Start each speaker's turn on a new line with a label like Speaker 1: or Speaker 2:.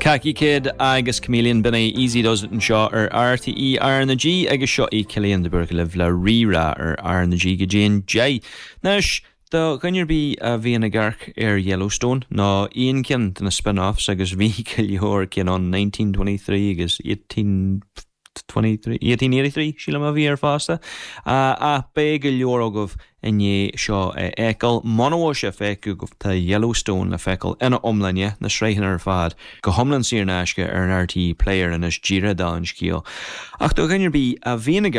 Speaker 1: Khaki Kid agus Chameleon b'in é Easy Does It anseo ar RTÉ R na G agus seo í Cillian de Búrca libh le Rí-Rá ar R na G go dtí an 10. Anois, do dhuine ar bith a bhíonn ag amharc ar Yellowstone nó aon cheann de na spin-offs agus bhí go leor cinn ann, 1923 agus 1823, 1883 sílim a bhí air fosta, ach beidh go leor agaibh i ndiaidh seo a fheiceáil. Muna bhfuil sé feicthe agaibh, tá Yellowstone le feiceáil ina iomláine, na sraitheanna ar fad, go hiomlán saor in aisce ar an RTÉ Player anois díreach don scéal. Ach do dhuine ar bith a bhíonn ag.